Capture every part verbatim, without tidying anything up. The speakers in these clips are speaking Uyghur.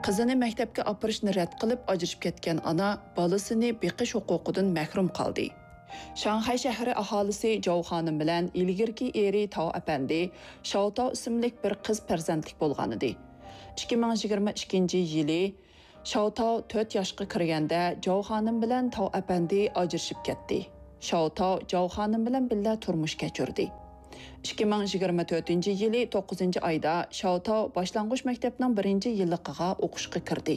قىزىنى مەكتەپكە ئاپىرىشنى رەت قىلىپ ئاجرىشىپ كەتكەن ئانا بالىسىنى بېقىش ھوقۇقىدىن مەھرۇم قالدى. شاڭخەي شەھىرى ئاھالىسى جاۋ خانىم بىلەن ئىلگىرىكى ئېرى تاۋ ئەپەندى شاۋتاۋ ئىسىملىك بىر قىز پەرزەنتلىك بولغانىدى. ئىككى مىڭ يىگىرمە ئىككىنچى يىلى شاۋتاۋ تۆت ياشقا كىرگەندە، جاۋ خانىم بىلەن تاۋ ئەپەندى ئاجرىشىپ كەتتى. شاۋتاۋ جاۋ خانىم بىلەن بىللە تۇرمۇش كەچۈردى. ئىككى مىڭ يىگىرمە تۆتىنچى يىلى توققۇزىنچى ئايدا شاۋتاۋ باشلانغۇچ مەكتەپنىڭ بىرىنچى يىللىقىغا ئوقۇشقا كىردى.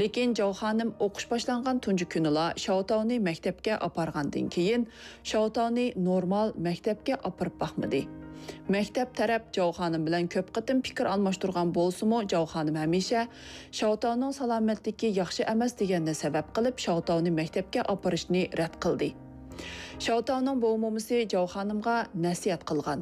لېكىن جاۋ خانىم ئوقۇش باشلانغان تۇنجى كۈنىلا شاۋتاۋنى مەكتەپكە ئاپارغاندىن كېيىن، شاۋتاۋنى نورمال مەكتەپكە ئاپىرىپ باقمىدى. مەكتەپ تەرەپ جاۋ خانىم بىلەن كۆپ قېتىم پىكىر ئالماشتۇرغان بولسىمۇ، جاۋ خانىم ھەمىشە شاۋتاۋنىڭ سالامەتلىكى ياخشى ئەمەس دېگەننى سەۋەب قىلىپ، شاۋتاۋنى مەكتەپكە ئاپىرىشنى رەت قىلدى. شاۋتاۋنىڭ بوۋا مومىسى جاۋ خانىمغا نەسىھەت قىلغان.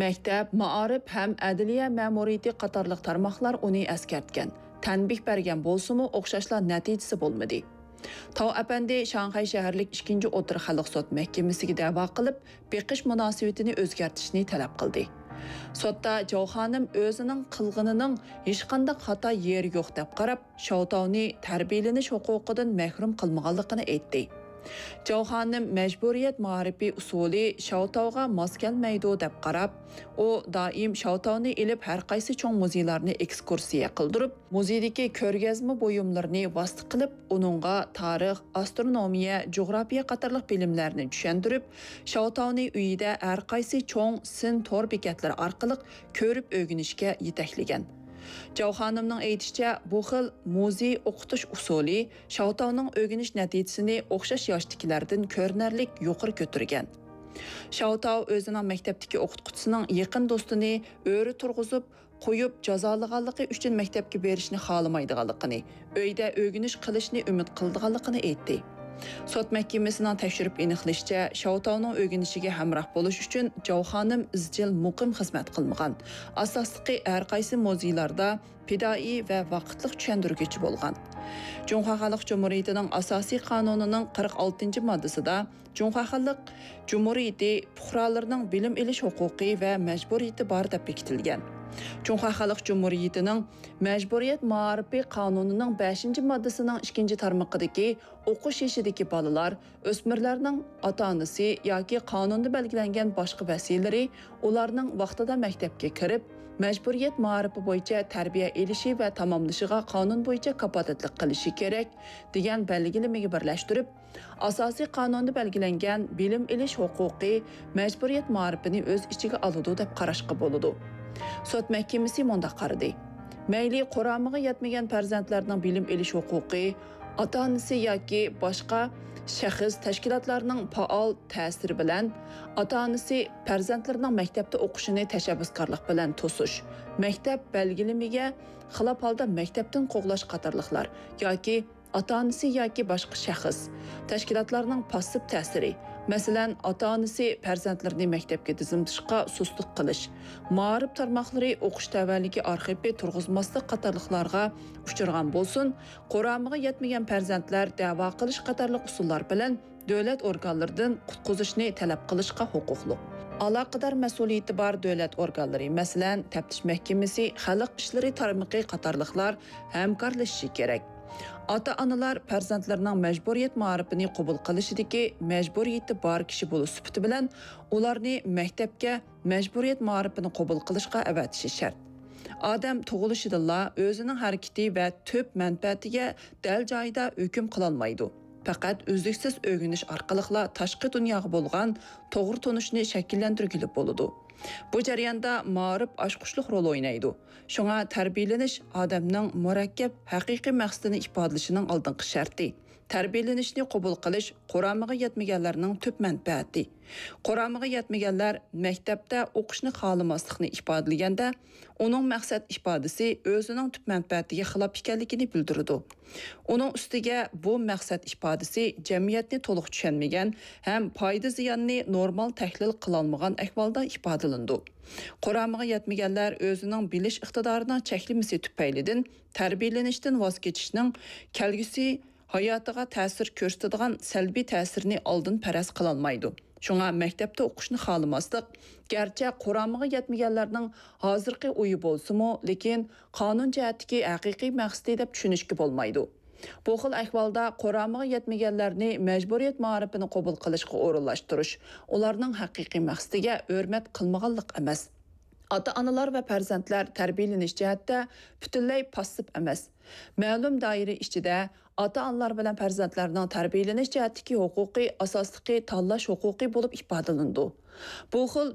مەكتەپ، مائارىپ ھەم ئەدلىيە مەمۇرىيىتى قاتارلىق تارماقلار ئۇنى ئەسكەرتكەن، تەنبىھ بەرگەن بولسىمۇ، ئوخشاشلا نەتىجىسى بولمىدى. تاۋ ئەپەندى شاڭخەي شەھەرلىك ئىككىنچى ئوتتۇرا خەلق سوت مەھكىمىسىگە دەۋا قىلىپ، بېقىش مۇناسىۋىتىنى ئۆزگەرتىشنى تەلەپ قىلدى. سوتتا جاۋ خانىم ئۆزىنىڭ قىلغىنىنىڭ ھېچقانداق خاتا يېرى يوق دەپ قاراپ، شاۋتاۋنى تەربىيەلىنىش ھوقۇقىدىن مەھرۇم قىلمىغانلىقىنى ئېيتتى. جاۋ خانىم مەجبۇرىيەت مائارىپى ئۇسۇلى شاۋتاۋغا ماس كەلمەيدۇ دەپ قاراپ، ئۇ دائىم شاۋتاۋنى ئېلىپ ھەرقايسى چوڭ مۇزېيلارنى ئېكسكۇرسىيە قىلدۇرۇپ، مۇزېيدىكى كۆرگەزمە بۇيۇملىرىنى ۋاسىتە قىلىپ، ئۇنىڭغا تارىخ، ئاسترونومىيە، جۇغراپىيە قاتارلىق بىلىملەرنى چۈشەندۈرۈپ، شاۋتاۋنى ئۆيىدە ھەرقايسى چوڭ سىن تور بېكەتلىرى ئارقىلىق كۆرۈپ ئۆگىنىشكە يېتەكلىگەن. جاۋ خانىمنىڭ ئېيتىشىچە، بۇ خىل مۇزېي ئوقۇتۇش ئۇسۇلى شاۋتاۋنىڭ ئۆگىنىش نەتىجىسىنى ئوخشاش ياشتىكىلەردىن كۆرۈنەرلىك يۇقىرى كۆتۈرگەن. شاۋتاۋ ئۆزىنىڭ مەكتەپتىكى ئوقۇتقۇچىسىنىڭ يېقىن دوستىنى ئۆرە تۇرغۇزۇپ، قويۇپ جازالىغانلىقى ئۈچۈن مەكتەپكە بېرىشنى خالىمايدىغانلىقىنى، ئۆيدە ئۆگىنىش قىلىشنى ئۈمىد قىلىدىغانلىقىنى ئېيتتى. سوت مەھكىمىسىنىڭ تەكشۈرۈپ ئېنىقلىشىچە، شاۋتاۋنىڭ ئۆگىنىشىگە ھەمراھ بولۇش ئۈچۈن جاۋ خانىم ئىزچىل مۇقىم خىزمەت قىلمىغان، ئاساسلىقى ھەرقايسى مۇزېيلاردا پىدائىي ۋە ۋاقىتلىق چۈشەندۈرگۈچى بولغان. جۇڭخۇا خەلق جۇمھۇرىيىتىنىڭ ئاساسىي قانۇنىنىڭ قىرىق ئالتىنچى ماددىسىدا جۇڭخۇا خەلق جۇمھۇرىيىتى پۇقرالىرىنىڭ بىلىم ئېلىش ھوقۇقى ۋە مەجبۇرىيىتى بار دەپ بېكىتىلگەن. جۇڭخۇا خەلق جۇمھۇرىيىتىنىڭ مەجبۇرىيەت مائارىپى قانۇنىنىڭ بەشىنچى ماددىسىنىڭ ئىككىنچى تارمىقىدىكى ئوقۇش يېشىدىكى بالىلار، ئۆسمۈرلەرنىڭ ئاتا-ئانىسى ياكى قانۇندا بەلگىلەنگەن باشقا ۋەسىيلىرى ئۇلارنىڭ ۋاقتىدا مەكتەپكە كىرىپ، مەجبۇرىيەت مائارىپى بويىچە تەربىيە ئېلىشى ۋە تاماملىشىغا قانۇن بويىچە كاپالەتلىك قىلىشى كېرەك، دېگەن بەلگىلىمىگە بىرلەشتۈرۈپ، ئاساسىي قانۇندا بەلگىلەنگەن بىلىم ئېلىش ھوقۇقى مەجبۇرىيەت مائارىپىنى ئۆز ئىچىگە ئالىدۇ دەپ قاراشقا بولىدۇ. سوت مەھكىمىسى مۇنداق قارىدى: مەيلى قۇرامىغا يەتمىگەن پەرزەنتلەرنىڭ بىلىم ئېلىش ھوقۇقى ئاتا-ئانىسى ياكى باشقا شەخس، تەشكىلاتلارنىڭ پائال تەسىرى بىلەن ئاتا-ئانىسى پەرزەنتلىرىنىڭ مەكتەپتە ئوقۇشىنى تەشەببۇسكارلىق بىلەن توسۇش، مەكتەپ بەلگىلىمىگە خىلاپ ھالدا مەكتەپتىن قوغلاش قاتارلىقلار ياكى ئاتا-ئانىسى ياكى باشقا شەخس، تەشكىلاتلارنىڭ پاسسىپ تەسىرى، مەسىلەن، ئاتا-ئانىسى پەرزەنتلىرىنى مەكتەپكە دىزىملىتىشقا سۇسلۇق قىلىش، مائارىپ تارماقلىرى ئوقۇش تەۋەلىكى ئارخىپى تۇرغۇزماسلىق قاتارلىقلارغا ئۇچرىغان بولسۇن، قۇرامىغا يەتمىگەن پەرزەنتلەر دەۋا قىلىش قاتارلىق ئۇسۇللار بىلەن دۆلەت ئورگانلىرىدىن قۇتقۇزۇشنى تەلەپ قىلىشقا ھوقۇقلۇق. ئالاقىدار مەسئۇلىيىتى بار دۆلەت ئورگانلىرى، مەسىلەن، تەپتىش مەھكىمىسى، خەلق ئىشلىرى تارمىقى قاتارلىقلار ھەمكارلىشىشى كېرەك. ئاتا-ئانىلار پەرزەنتلىرىنىڭ مەجبۇرىيەت مائارىپىنى قوبۇل قىلىشىدىكى مەجبۇرىيىتى بار كىشى بولۇش سۈپىتى بىلەن ئۇلارنى مەكتەپكە مەجبۇرىيەت مائارىپىنى قوبۇل قىلىشقا ئەۋەتىشى شەرت. ئادەم تۇغۇلۇشىدىنلا ئۆزىنىڭ ھەرىكىتى ۋە تۈپ مەنپەئەتىگە دەل جايىدا ھۆكۈم قىلالمايدۇ. پەقەت ئۈزلۈكسىز ئۆگىنىش ئارقىلىقلا تاشقى دۇنياغا بولغان توغرا تونۇشنى شەكىللەندۈرگىلى بولىدۇ. بۇ جەرياندا مائارىپ ئاچقۇچلۇق رول ئوينايدۇ. شۇڭا تەربىيەلىنىش ئادەمنىڭ مۇرەككەپ ھەقىقىي مەقسىتىنى ئىپادىلىشىنىڭ ئالدىنقى شەرتى. تەربىيەلىنىشنى قوبۇل قىلىش قۇرامىغا يەتمىگەنلەرنىڭ تۈپ مەنپەئەتى. قۇرامىغا يەتمىگەنلەر مەكتەپتە ئوقۇشنى خالىماسلىقىنى ئىپادىلىگەندە، ئۇنىڭ مەقسەت ئىپادىسى ئۆزىنىڭ تۈپ مەنپەئەتىگە خىلاپ ئىكەنلىكىنى بىلدۈرىدۇ. ئۇنىڭ ئۈستىگە بۇ مەقسەت ئىپادىسى جەمئىيەتنى تولۇق چۈشەنمىگەن ھەم پايدا-زىياننى نورمال تەھلىل قىلالمىغان ئەھۋالدا ئىپادىلىنىدۇ. قۇرامىغا يەتمىگەنلەر ئۆزىنىڭ بىلىش ئىقتىدارىنىڭ چەكلىمىسى تۈپەيلىدىن تەربىيەلىنىشتىن ۋاز كېچىشنىڭ كەلگۈسى ھاياتىغا تەسىر كۆرسىتىدىغان سەلبىي تەسىرىنى ئالدىن پەرەز قىلالمايدۇ. شۇڭا مەكتەپتە ئوقۇشنى خالىماسلىق، گەرچە قۇرامىغا يەتمىگەنلەرنىڭ ھازىرقى ئويى بولسىمۇ، لېكىن قانۇن جەھەتتىكى ھەقىقىي مەقسىتى دەپ چۈشىنىشكە بولمايدۇ. بۇ خىل ئەھۋالدا قۇرامىغا يەتمىگەنلەرنى مەجبۇرىيەت مائارىپىنى قوبۇل قىلىشقا ئورۇنلاشتۇرۇش، ئۇلارنىڭ ھەقىقىي مەقسىتىگە ھۆرمەت قىلمىغانلىق ئەمەس. ئاتا-ئانىلار ۋە پەرزەنتلەر تەربىيەلىنىش جەھەتتە پۈتۈنلەي پاسسىپ ئەمەس. مەلۇم دائىرە ئىچىدە ئاتا-ئانىلار بىلەن پەرزەنتلەرنىڭ تەربىيەلىنىش جەھەتتىكى ھوقۇقى ئاساسلىقى تاللاش ھوقۇقى بولۇپ ئىپادىلىنىدۇ. بۇ خىل